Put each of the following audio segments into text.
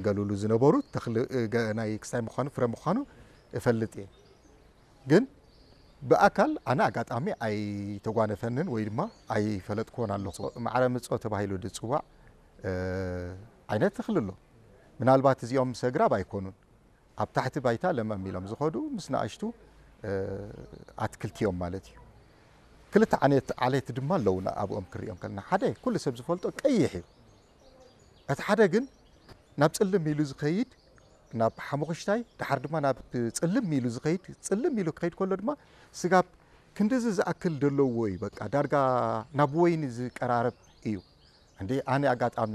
ገሉሉ ዝነበሩ ተኽሊ፣ እ፣ ገ-፣ ናይ ክስታይ ምዃኑ፣ ፍረ ምዃኑ እፈልጥ እየ። ግን ብኣካል ኣነ ኣጋጣሚ ኣይተጓነፈንን ወይ ድማ ኣይፈለጥኩዎን ኣለኹ። ማዕረ ምጾ ተባሂሉ ዝጽዋዕ፣ እ፣ ዓይነት ተኽሊ ኣሎ። ምናልባት እዚኦም ምስ ኣግራብ ኣይኮኑን። ኣብ ታሕቲ ባይታ ለመም ኢሎም ዝኸዱ ምስ ንኣሽቱ፣ እ፣ ኣትክልቲ እዮም ማለት እዩ። ክልተ ዓይነት ዓሌት ድማ ኣለዉና ኣብኦም ክሪኦም ከለና። ሓደ ኩሉ ሰብ ዝፈልጦ ቀይሕ እዩ። እቲ ሓደ ግን ናብ ጽልም ኢሉ ዝኸይድ፣ ናብ ሓሙኽሽታይ፣ ድሓር ድማ ናብ ጽልም ኢሉ ዝኸይድ፣ ጽልም ኢሉ ክኸይድ ከሎ ድማ ስጋብ ክንድዚ ዝኣክል ዘለዎ እዩ። በቃ ዳርጋ ናብ ወይኒ ዝቀራረብ እዩ። እንዴ ኣነ ኣጋጣሚ፣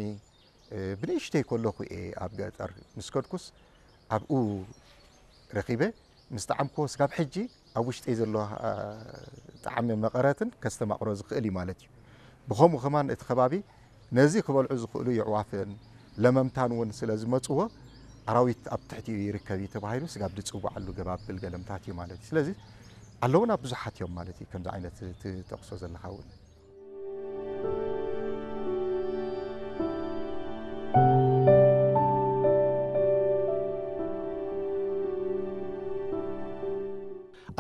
እ፣ ብንእሽተይ ከለኹ እየ ኣብ ገጠር ምስ ከድኩስ ኣብኡ ረኺበ ምስ ጠዓምክዎ ስጋብ ሕጂ ኣብ ውሽጠይ ዘሎ፣ እ፣ ጣዕሚ መቐረትን ከስተማቕሮ ዝኽእል እዩ ማለት እዩ። ብኸምኡ ከማን እቲ ከባቢ ነዚ ክበልዑ ዝኽእሉ የዕዋፍን ለመምታን እውን ስለ ዝመጽዎ ኣራዊት ኣብ ትሕቲኡ ይርከብ እዩ ተባሂሉ ስጋብ ዝጽውዓሉ ገባብል ገለምታት እዩ ማለት እዩ። ስለዚ ኣለውና ብዙሓት እዮም ማለት እዩ። ከምዚ ዓይነት ትጠቕሶ ዘለኻ እውን።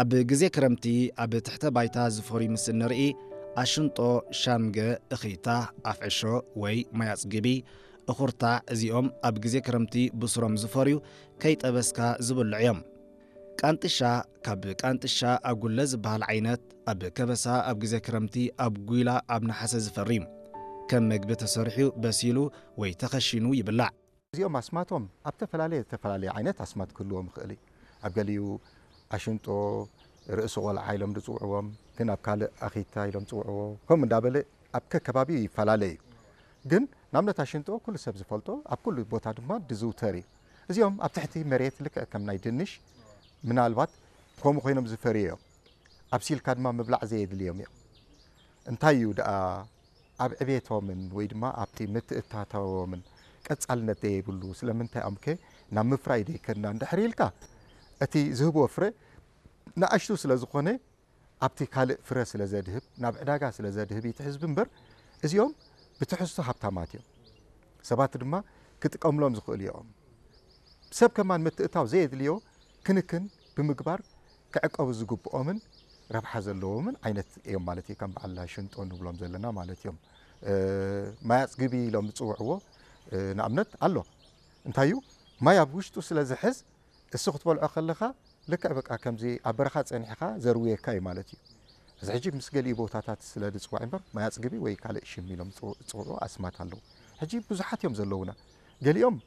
ኣብ ግዜ ክረምቲ ኣብ ትሕተ ባይታ ዝፈርዩ ምስ እንርኢ፣ ኣሽንጦ፣ ሻምገ፣ እኺታ፣ ኣፍዕሾ ወይ ማይ ኣጽግቢ፣ እኹርታዕ፣ እዚኦም ኣብ ግዜ ክረምቲ ብስሮም ዝፈርዩ ከይጠበስካ ዝብልዑ እዮም። ቃንጥሻ፣ ካብ ቃንጥሻ ኣጉለ ዝበሃል ዓይነት፣ ኣብ ከበሳ ኣብ ግዜ ክረምቲ፣ ኣብ ጒላ ኣብ ነሓሰ ዝፈሪ እዩ። ከም መግቢ ተሰሪሑ በሲሉ ወይ ተኸሺኑ ይብላዕ። እዚኦም ኣስማቶም ኣብ ተፈላለየ፣ ተፈላለየ ዓይነት ኣስማት ክህልዎም ይኽእል እዩ። ኣብ ገሊኡ ኣሽንጦ፣ ርእሲ ቆልዓ ኢሎም ዝጽውዕዎም፣ ግን ኣብ ካልእ ኣኺታ ኢሎም ዝጽውዕዎ፣ ከምኡ እንዳበለ ኣብ ከከባቢኡ ይፈላለ እዩ። ግን ንኣብነት ኣሽንጦ ኩሉ ሰብ ዝፈልጦ፣ ኣብ ኩሉ ቦታ ድማ ዝዝውተር እዩ። እዚኦም ኣብ ትሕቲ መሬት ልክዕ ከም ናይ ድንሽ ምናልባት ከምኡ ኮይኖም ዝፈርዩ እዮም። ኣብሲልካ ድማ ምብላዕ ዘየድልዮም እዮም። እንታይ እዩ ደኣ ኣብ ዕቤቶምን ወይ ድማ ኣብቲ ምትእታታዎምን ቀጻልነት ዘየብሉ ስለምንታይ ኣምከ ናብ ምፍራይ ደይከድና እንድሕር ኢልካ፣ እቲ ዝህብዎ ፍረ ንኣሽቱ ስለ ዝኾነ ኣብቲ ካልእ ፍረ ስለ ዘድህብ፣ ናብ ዕዳጋ ስለ ዘድህብ እዩ እቲ ህዝቢ እምበር፣ እዚኦም ብትሕዝቶ ሃብታማት እዮም። ሰባት ድማ ክጥቀምሎም ዝኽእሉ እዮም። ሰብ ከማን ምትእታው ዘየድልዮ ክንክን ብምግባር ክዕቀቡ ዝግብኦምን ረብሓ ዘለዎምን ዓይነት እዮም ማለት እዩ። ከም በዓል ሽንጦ ንብሎም ዘለና ማለት እዮም። እ፣ ማይ ኣጽግቢ ኢሎም ዝጽውዕዎ፣ እ፣ ንኣብነት ኣሎ። እንታይ እዩ? ማይ ኣብ ውሽጡ ስለ ዝሕዝ፣ እሱ ክትበልዖ ከለኻ ልክዕ በቃ ከምዚ ኣብ በረኻ ጸኒሕካ ዘርውየካ እዩ ማለት እዩ። እዚ ሕጂ ምስ ገሊኡ ቦታታት ስለ ዝጽዋዕ እምበር ማይ ኣጽግቢ ወይ ካልእ ሽም ኢሎም ዝጽው-፣ ዝጽውዑ ኣስማት ኣለዉ። ሕጂ ብዙሓት እዮም ዘለዉና። ገሊኦም፣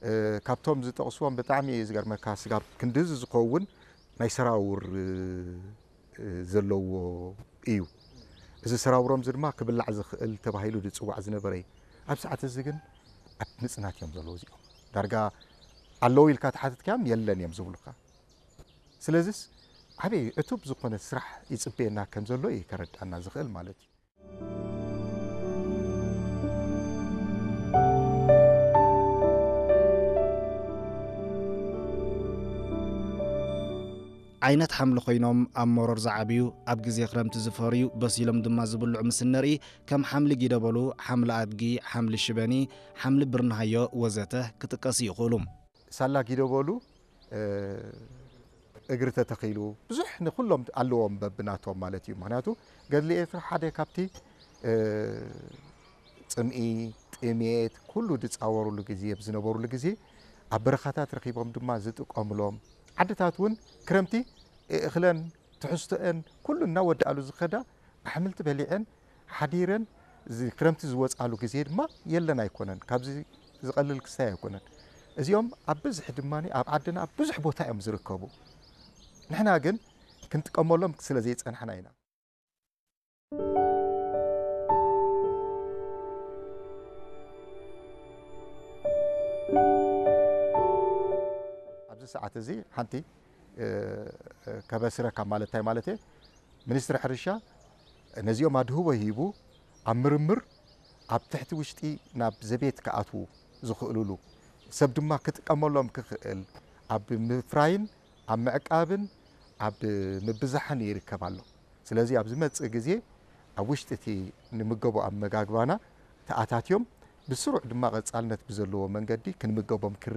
እ፣ ካብቶም ዝጠቕስዎም ብጣዕሚ እዩ ዝገርመካ፣ ስጋብ ክንድዚ ዝኸውን ናይ ሰራውር፣ እ፣ እ፣ ዘለዎ እዩ። እዚ ሰራውሮም እዚ ድማ ክብላዕ ዝኽእል ተባሂሉ ዝጽዋዕ ዝነበረ እዩ። ኣብ ሰዓት እዚ ግን ኣብ ምጽናት እዮም ዘለዉ እዚኦም። ዳርጋ ኣለዉ ኢልካ ተሓትትካዮም የለን እዮም ዝብሉካ። ስለዚስ ዓብዪ ዕቱብ ዝኾነ ስራሕ ይጽበየና ከም ዘሎ እዩ ከረድኣና ዝኽእል ማለት እዩ። ዓይነት ሓምሊ ኮይኖም ኣብ መሮር ዝዓብዩ፣ ኣብ ግዜ ክረምቲ ዝፈርዩ፣ በሲሎም ድማ ዝብልዑ ምስ እንርኢ፣ ከም ሓምሊ ጊደበሉ፣ ሓምሊ ኣድጊ፣ ሓምሊ ሽበኒ፣ ሓምሊ ብርንሃዮ ወዘተ ክጥቀሱ ይኽእሉ። ሳላ ጊደበሉ፣ እ፣ እግሪ ተተኺሉ ብዙሕ ንኹሎም ኣለዎም በብናቶም ማለት እዩ። ምኽንያቱ ገድሊ ኤርትራ ሓደ ካብቲ፣ እ፣ ጽምኢ፣ ጥሜት ኩሉ ዝጻወሩሉ ግዜ፣ ኣብ ዝነበሩሉ ግዜ ኣብ በረኻታት ረኺቦም ድማ ዝጥቀምሎም፣ ዓድታት እውን ክረምቲ እኽለን ትሕዝቶአን ኩሉ እናወዳእሉ ዝኸዳ ኣሕምልቲ በሊዐን ሓዲረን እዚ ክረምቲ ዝወጻሉ ግዜ ድማ የለን ኣይኮነን። ካብዚ ዝቐልል ክስታይ ኣይኮነን። እዚኦም ኣብ ብዝሒ ድማ ኣብ ዓድና ኣብ ብዙሕ ቦታ እዮም ዝርከቡ። ንሕና ግን ክንጥቀመሎም ስለ ዘይጸናሕና ኢና። ኣብዚ ሰዓት እዚ ሓንቲ፣ እ፣ እ፣ ከበስረካ ማለት እንታይ ማለት እየ? ሚኒስትሪ ሕርሻ ነዚኦም ኣድህቦ ሂቡ ኣብ ምርምር ኣብ ትሕቲ ውሽጢ ናብ ዘቤት ክኣትዉ ዝኽእሉሉ ሰብ ድማ ክጥቀመሎም ክኽእል ኣብ ምፍራይን ኣብ ምዕቃብን ኣብ ምብዛሕን ይርከብ ኣሎ። ስለዚ ኣብ ዝመጽእ ግዜ ኣብ ውሽጢ እቲ ንምገቦ ኣመጋግባና ተኣታትዮም ብስሩዕ ድማ ቀጻልነት ብዘለዎ መንገዲ ክንምገቦም ክር